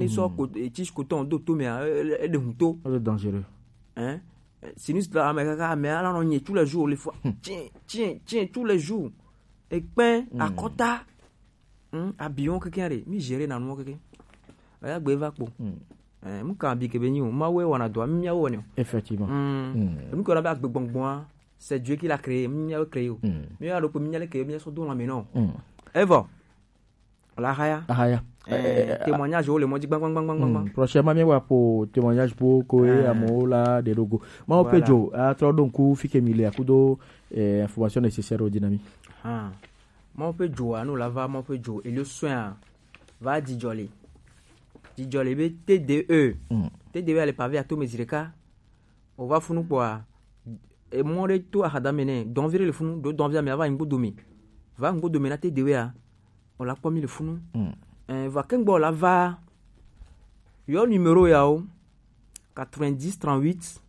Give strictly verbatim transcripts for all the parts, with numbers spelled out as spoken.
Sɔ ko, eh, tis ko tɔn do to mea, eh, eh, eh, de hun to. Ele dangereux. Hein? Eh, sinus la, ame kaka, ame ala nɔ nye tous les jours, les fois. Tiens, tiens, tiens, tous les jours. Ekpɛn, akɔta. Hmm, abion keke re, mi gérer na nu keke. Aya gbe va kpo. Hmm. Eh, mu kan bi ke be nyi o, ma we wana do, mi ya wo ne. Effectivement. Hmm. Hmm. Mu ko na ba gbe gbongbon a, c'est Dieu qui l'a créé, mi ya créé o. Hmm. Mi ya do ko mi ya le créé, mi ya so do la me no. Hmm. Evo. La haya. Ahaya. Eh, témoignage o le mo di gbang gbang gbang gbang gbang. Hmm. Prochainement mi wa po témoignage po ko e amo la de logo. Ma o pe jo, a tro donc fi ke mi le akudo, eh, information nécessaire o dinami. Ah. Mɔ ƒe dzo anu la va mɔ ƒe dzo elio soin a va dzidzɔ li. Dzidzɔ li be T D E. Mm. T D E a le pavé ato me zireka. O va funu kpɔa, emɔ ɖe to ahadame nɛ, dɔnvi ɖe le funu, ɖo dɔnvia me ava nyigbo dome. Va nyigbo dome na T D E a, o la kpɔ mi le funu. Mm. Eh, va kengbe o la va yɔ numéro ya o, quatre-vingt-dix trente-huit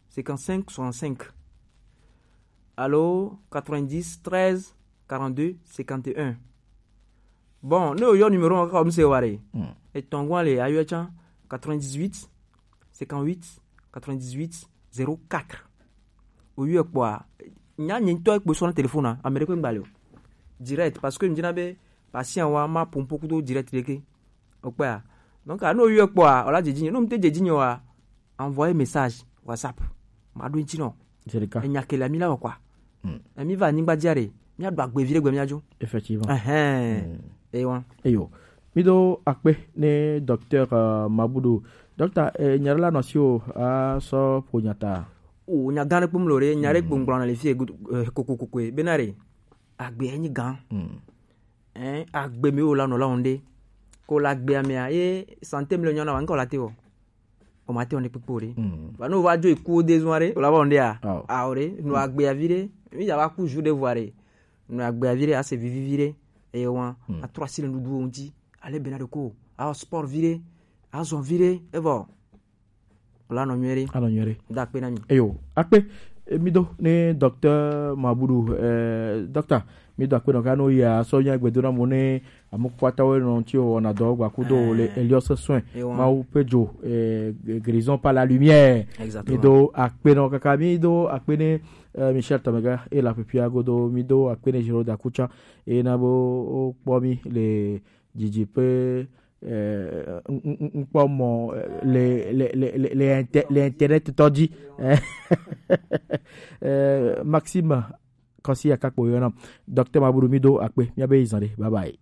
cinquante-cinq soixante-cinq. Alo quatre-vingt-dix treize quarante-deux cinquante et un. Bon, ne o yɔ numéro ŋa kaka o mi se wa re. Hmm. Etɔn gɔn le ayɔ can quatre-vingt-dix-huit cinquante-huit quatre-vingt-dix-huit zéro quatre. O yɔ kpɔa, nya nye ŋutɔ ekpo sɔ na téléphone a, ame ɖe kpe ŋgba le o. Direct, parce que mi dina be patient wa ma pompo kudo direct ɖeke. O kpɔa. Donc, a ne o yɔ kpɔa, o la dze dzi nye. Ne o mi te dze dzi nye wa, envoyer message WhatsApp. Ma ɖo ŋuti nɔ. Jerika. Enya ke le mi la wɔ kpɔa. Hmm. E mi va anyigba dzi a ɖe, mi aɖo agbe vi ɖe gbe mi adzo. Effectivement. Ehɛn. Hmm. Ewa. Eyo. Mi do akpe ne docteur, euh, Mabudu. Docteur, eh, nya ɖe la nɔ si o, a sɔ ƒo nya ta. O nya gã ɖe kpom lo ɖe, nya ɖe gbongblɔ na le fi e gudu, eh, koko koko e. Bena ɖe, agbe enyi gã. Hmm. Hein, agbe mi o la nɔ la onde. Ko la agbe amea, ye santé mi le nyɔ na wa, ŋkɔ la te o. O ma te o ne kpekpe o ɖe. Mm. Ba no va jo iku o de zun a ɖe, o la va onde a. Awo. Awo ɖe, no agbe avi ɖe, mi ya va ku ju ɖe vɔ a ɖe. No agbe avi ɖe, a se vivi vi ɖe, eye wa, mm, a trɔ asi le nuɖuɖu o ŋuti, ale bena ɖe ko, a sport vi ɖe, a zɔn vi ɖe, evɔ. Wala nɔ nyuie ɖe. Anɔ nyuie ɖe. Da akpe na mi. Eyo, akpe, eh, mi do ne docteur Mabudu, eh, docteur, mi do akpe nɔ ka no ya sɔ nya gbedo na mo ne amukpatawo nɔ ti o na dɔ gba kudo le Elios soin. Ewa. Mawu pe jo, eh, guérison par la lumière. Exactement. Mi do akpe nɔ kaka mi do akpe ne, eh, Michel Tamega e la pepia godo mi do akpe ne Giro Dakucha e na bo o kpɔ mi le didi pe, eh, n-, n-, n-, n-, kpɔ mɔ, eh, le, le, le, le, le inter-, le internet tɔ dzi. Eh, eh, Maxime Kɔsi Akakpo yɔna. Docteur Mabudu mi do akpe, mi abe izan ɖe. Bye bye.